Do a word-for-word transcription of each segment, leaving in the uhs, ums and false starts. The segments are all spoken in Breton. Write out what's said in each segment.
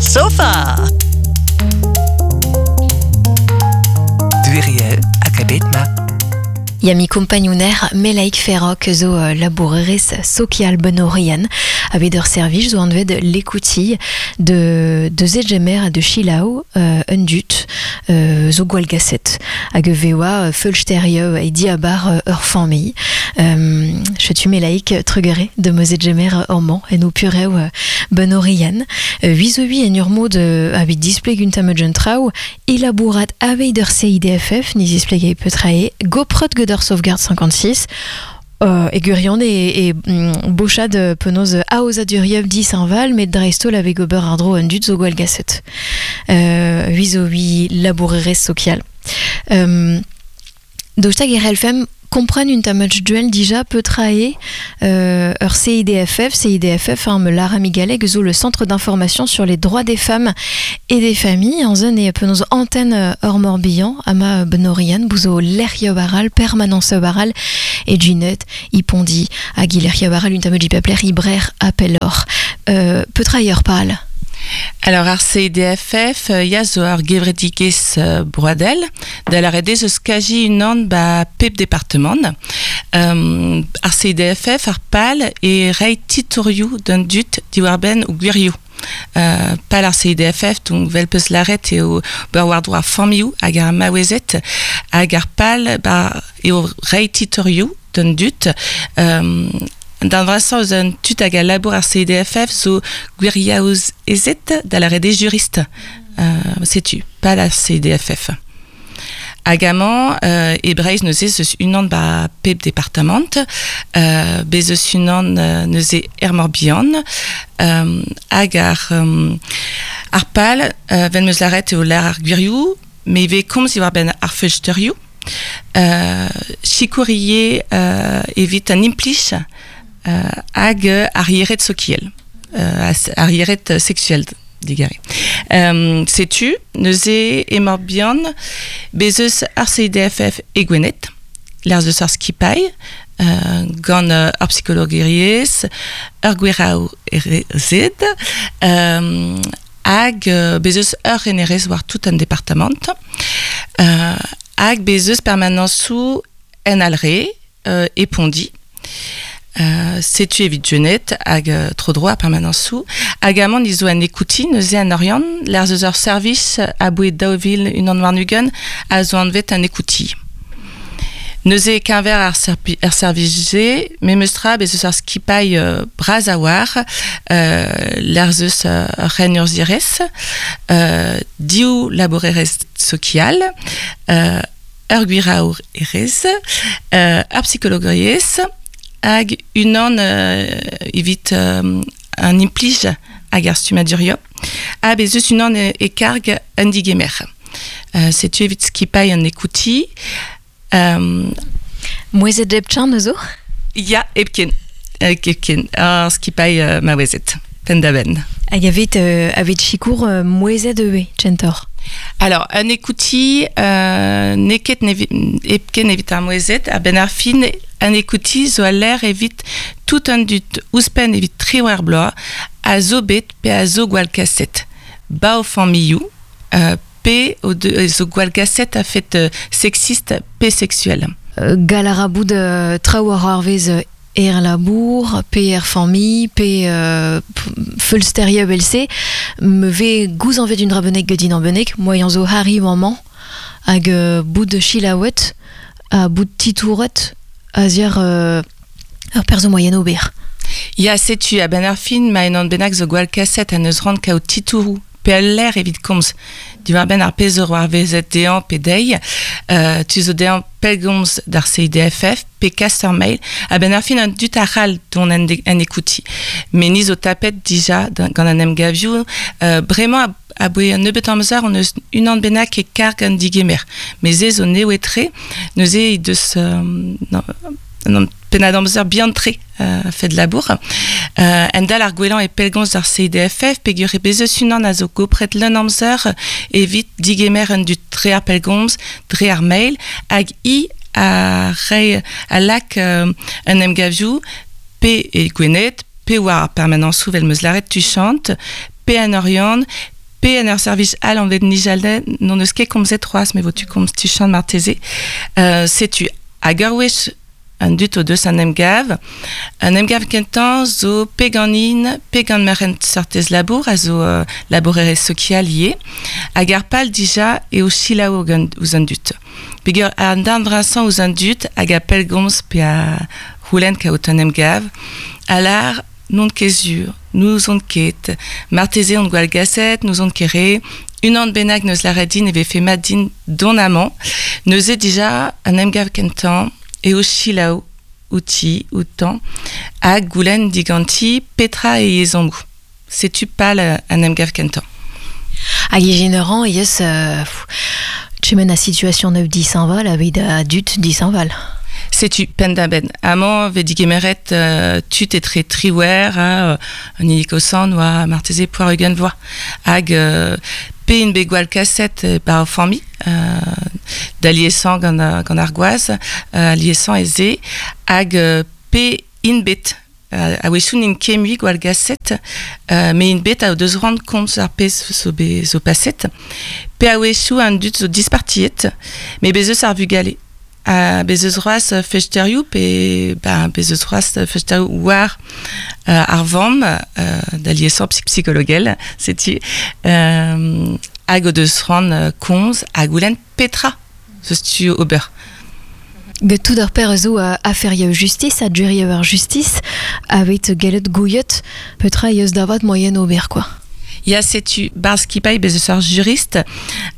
Sofa! Duiriel hag a bet ma. Ya mi kompagnoner Melaik Ferroc zo uh, labourerez sokial benorian a bet ur servij zo anvet l'écoutille de, de Zegemer ha de Chilau euh, un dut euh, zo gwallgaset hag vewa feulsterio e diabar euh, ur famille. Euh, chetu Melaik trugere de mo Zegemer orman en o purew euh, benorian. Euh, huit zo hui en ur mod euh, a bet displeg un tamm traoù elabourat aveit ur C I D F F ni zispleg petrae goprot gant ur sauvegarde cinquante-six. Euh, e gwirion e, e mm, bochad penaos aozadurioù dishañval met dreist-holl a vez gober ar dro un dud zo gwall gaset. Euh, hui zo hui labourerez sokial. Euh, Daoust hag e c'hellfemp kompren un tamm duel dija petrae euh, ur C I D F F, C I D F F, hein, me lar amigalek zo le centre d'information sur les droits des femmes et des familles, en zone e penaos antenne ur Morbihan, ama benorian, bouzo lec'hioù aral, permanence aral, e Junet, ipondi, hag i lec'hioù aral un tamm dipapler ibrer apelor. Euh, petra ur pal? Alors, ar C I D F F, euh, ya zo ar gevredigezh, euh, broadel, da lâret eo eus kaji unan ba pep departement. Euh, ar C I D F F, ar pal e rei titourioù d'un dut diwar-benn ou gwirioù. Euh, pal ar C I D F F, donc vel peus lâret eo bar war droit familhoù hag ar maouezed hag ar pal ba eo rei titourioù d'un dut. Euh, Dan vrasañ eus un tud hag a labour ar C I D F F zo gwiriaouz ezet da lâret eo jurist. Euh, setu, pal ar C I D F F. Hag amañ, euh, e Breizh neuze eus unan ba pep departamant, euh, bez eus unan, euh, neuze er Morbihan, euh, hag ar, euh, ar pal, euh, ven meus lâret eo lâr ar gwirioù, me ivez komz diwar benn ar feulsterioù, euh, sikourier, euh, evit an implij, euh, hag ar yered sokiel, euh, as-, ar yered sexuel digare. Euh, setu, neuze e Morbihan, bez eus ar C I D F F e Gwened, l'ar eus ar skipailh, euh, gant, euh, ar psychologiezh, ur gwiraou erezed, euh, hag, euh, bez eus ur renerez war tout an departamant, euh, hag bez eus permanensoù en Alre, euh, e Pondi. Euh, setu evit Junet hag, euh, tro droit ar permanensoù. Hag amañ nizo an ekouti, neuze an Oriant, l'ar eus ur service a boued daou vil unan warn-ugent a zo anvet an ekouti. Neuze keñver ar serpi-, ar servij-se, memes tra bez eus ar skipailh, euh, bras a war, euh, l'ar eus, euh, ur ren urzhierez, euh, div labourerez sokial, euh, ur gwiraour erez, euh, ur psychologiezh, hag unan, euh, evit, euh, un implij hag ar stummadurio, ha bez eus unan e, e karg un digemer. Euh, setu evit skipailh an ekouti. Euh, Mouezet hepken neuzo? Ya, hepken. Hepken. Ar skipailh, euh, maouezet. Penn-da-benn. Hag avet, euh, avet sikour, euh, mouezet eue, tchentor? Alors, un ekouti, euh, neket nevi-, hepken evit ar mouezet, a benn ar fin, un ekouti zo a l'air evit tout un dut ouzhpenn evit triwec'h bloaz, a zo bet pe a zo gwall kaset. Ba o familhoù, euh, pe o de, zo gwall gaset a fet, euh, sexiste pe sexuel. Euh, gal a ra bout, euh, traoù ar ar vez, euh, er labour, pe er famille, pe, euh, feulsteria belse, me ve gouz anvet un dra bennek gedin an bennek, moaien zo Harry maman, hag, euh, bout de chilaouet, ha bout titouret, a ziar, euh, ur perzo moyen ober. Ya, setu, a ben ar fin, ma en an bennak zo gwall kaset a neus rand kaout titourou, pe al l'air evit komz. Diwar benn ar pezh ur war vezet dezhañ pe dezhi, euh, tu zo dezhañ pellgomz d'ar C I D F F, pe kas ur mail, a benn ar fin an dut ar c'hall dont an de-, an ekouti. Me ni zo tapet dija da-, gant an emgavioù, euh, bremañ a, a boe un nebeut amzer on eus unan bennak e karg an digemer. Me ze zo newe-tre, neuze he deus, euh, non, non, pennad amzer bihan tre, euh, fet labour. Euh, en dal ar gwellañ e pellgomz d'ar C I D F F, peogwir e bez eus unan a zo gopret leun amzer evit digemer un dut dre ar pellgomz, dre ar mail, hag i a rei a lak, euh, un emgavioù pe e Gwened, pe war ar permanensoù vel meus lâret tuchant, pe an Oriant, Pe en ur servij all an vet nijalde non eus ket komzet c'hoazh me vo tu komz tuchant marteze. Euh, setu hag ur wech an dut o deus an emgav. An emgav kentañ zo pe ganin, pe gant merent sortez labour, a zo euh, labourerez sokial ivez, hag ar pal dija eo selaou gant ouzh an dud. Peogwir an darn vrasañ ouzh an dud hag a pellgomz pe a c'houlenn kaout an emgav, a lar n'on ket sur, n'ouzon ket, marteze on gwall gaset, n'ouzon ket re, unan bennak neus lâret din e vefe mat din dont amañ, neuze dija an emgav kentañ eo selaou outi, outañ, hag goulenn diganti petra e ezhommoù. Setu pal an emgav kentañ. Hag ijin ran eus euh, Chemen a situation neuf disañval aveit a dud disañval. Setu penn-da-benn. Amañ vez digemeret euh, tud etre triwec'h ha euh, an hini kosan oa marteze poar ugent vloaz. Hag euh, pe int bet gwall kaset par o familh, euh, da liesañ gant, gant ar gwaz, euh, liesañ ez eo, hag euh, pe int bet euh, a-wechoù n'int ket mui gwall gaset, euh, met int bet a o deus c'hoant komz ar pezh zo, be, zo paset, pe a-wechoù an dud zo dispartiet, met bez eus ar vugale. Uh, bez eus c'hoazh festerioù pe ben, bez eus c'hoazh festerioù war uh, ar vamm uh, da liesañ psychologel, setu euh, hag o deus c'hoant uh, komz ha goulenn petra zeus tu ober. Get tout ar per zo uh, aferioù justice, a durioù ar justice, aveit gellet gouiet, petra eus davat moyen ober, quoi. Ya setu barzh skipailh bez eus ar jurist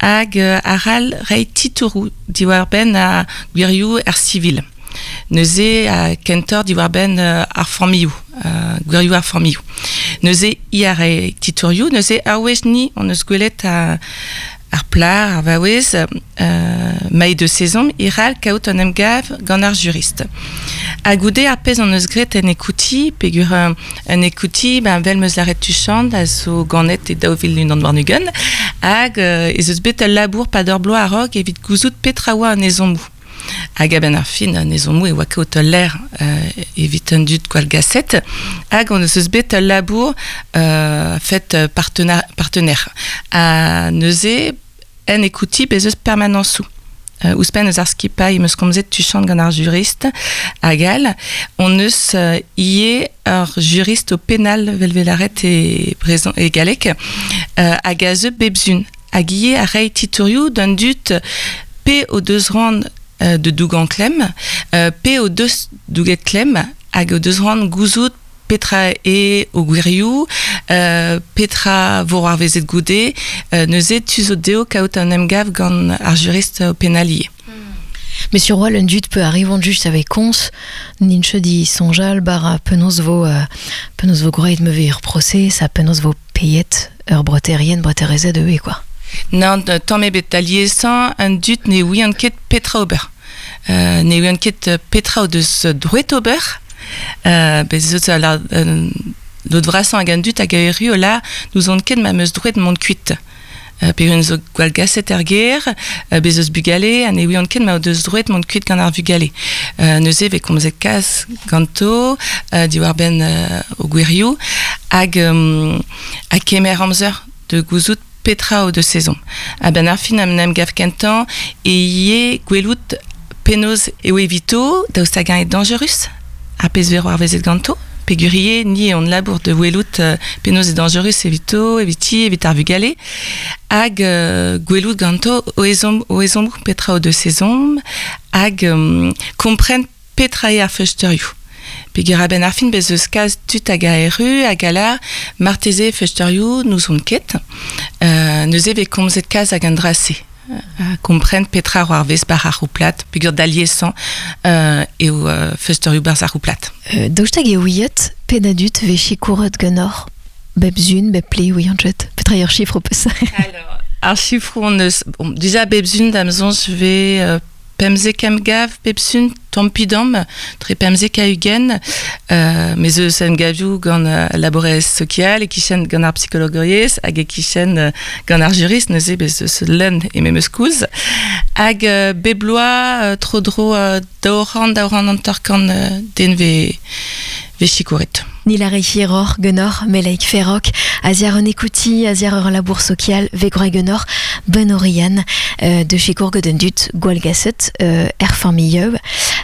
hag uh, ar al rei titouroù diwar-benn a gwirioù ar civil. Neuze a kentor diwar-benn uh, ar familhoù, uh, gwirioù ar familhoù. Neuze i a rei titourioù, neuze ar wech ni on eus gwelet a, ar plar, ar vaouez, euh, maï de saison, iral kaout an emgav gant ar jurist. Ha goude ar pezh an eus graet en ekouti, peogwir en ekouti, ben, vel meus lâret tuchant, a zo ganet e daou vil unan warn-ugent, hag euh, ez eus bet ul labour pad ur bloaz a-raok evit gouzout petra oa an ezhommoù. Hag a-benn ar fin an ezhommoù e oa kaout ul lec'h euh, evit an dud gwall gaset, hag on eus bet ul labour euh, fet partenaire, partenaire. Ha neuze en ekouti bez eus permanensoù. Euh, ouzhpenn eus ar skipailh meus komzet tuchant gant ar jurist hag all, on eus euh, ivez ur jurist o penal vel velaret e brezhon e galleg, euh, hag a zeu bep sizhun. Hag ivez a rei titourioù d'an dud pe o deus c'hoant euh, de dougañ klemm, euh, pe o deus douget klemm, hag o deus c'hoant gouzout petra e o gwirioù, euh, petra vo ar vezet goude, euh, neuze tu zo dezho kaout an emgav gant ar jurist o penal ivez. Mais sur un dud peut arrivant just avec cons, ninche di sonjal bar penaos vo euh, penaos vo groet me ur procès, sa penaos vo payet ur breterien breterezet e quoi. Non, tamm ebet da liesañ an dud ne ouiont ket petra ober. Euh, ne ouiont ket petra o deus droet ober, euh, bez eus la, euh, lod vrasañ hag an dud hag a erru o la n'ouzon ket ma meus droet mont kuit. Euh, pe zo gwall gaset er gêr, euh, bez eus bugale, ha ne ouiont ket ma o deus droet mont kuit gant ar vugale. Euh, neuze vez komzet kalz ganto, euh, diwar-benn euh, o gwirioù, hag euh, ha kemer amzer de gouzout petra o deus ezhomm. A-benn ar fin am em gav kentañ e ivez gwelout penaos eo evito, daoust hag-eñ eo dañjerus, ar pezh vero ar vezet ganto, peogwir ivez ni on labour de welout euh, penaos eo dañjerus evito, eviti, evit ar vugale, hag euh, gwelout ganto o ezhomm, o ezhommoù petra o deus ezhomm, hag um, kompren petra eo ar feusteurioù. Peogwir a-benn ar fin bez eus kalz tud hag a erru, hag a lar, marteze feusteurioù n'ouzon ket, euh, neuze vez komzet kalz hag an dra-se. A kompren petra eo ar vez bar ar c'houplad, peogwir da liesañ euh, eo euh, feusteurioù barzh ar c'houplad. Euh, daoust hag e ouiet pet a dud vez sikouret ganeoc'h bep sizhun, bep ple ouian jet. Petra eo ar sifr peus. Alors, ar sifroù on eus, bon, déjà bep sizhun d'am soñj vez euh, pemzek emgav bep sizhun tamm pe damm, tre pemzek ha ugent, euh, mes eus emgavioù gant euh, labourerez sokial, e-kichen gant ar psikologouriezh, hag e-kichen euh, gant ar jurist, neuze bez eus leun e memes koulz. Hag euh, bep bloaz, euh, tro-dro euh, daou c'hant, daou c'hant hanter-kant euh, den vez, Vez sikouret. Ni la hiror genor Melaik Ferroc, aziar an ekouti, aziar ur labour sokial, ve groa genor, ben orian, euh, de sikour gant dut gwall gaset, euh, er famille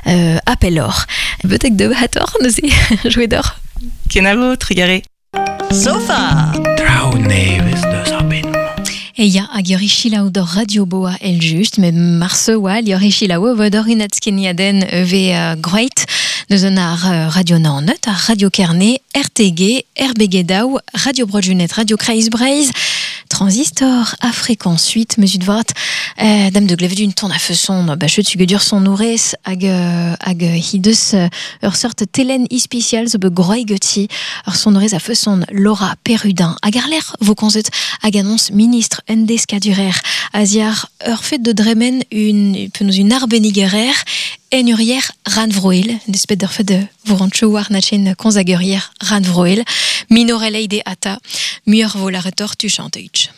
euh, appel or. Betek de hator, neuze, jouet d'or. Kenavo, trigare. Sofa. Traoù nevez deus ar bed. E ya, hag ur chilaou d'or Radio Boa el just, met marse oa, ur chilaou vo d'or inatskeniaden ve uh, groeit, neus an ar Radio Naoned, ar Radio Kerne, R T G, R B G Daou, Radio Broadjunet, Radio Kreiz Breizh, Transistor, a fréquence huit, mesut vat, euh, dame de glaive d'une ton a feson, ba chet sugedur son nourez, hag, hag hideus ur sort telen ispicial zo be groei geti, ur son nourez a feson Laura Perrudin, hag ar ler vo konzet hag annonce ministre endeskadurer, aziar ur fet de dremen une, penaos une arbenigerer, en urier ranvroil, une espèce d'ur fet de vorancho war nachen konzagurier ranvroil, minorelei de ata, muur vo la retor tu chanteich.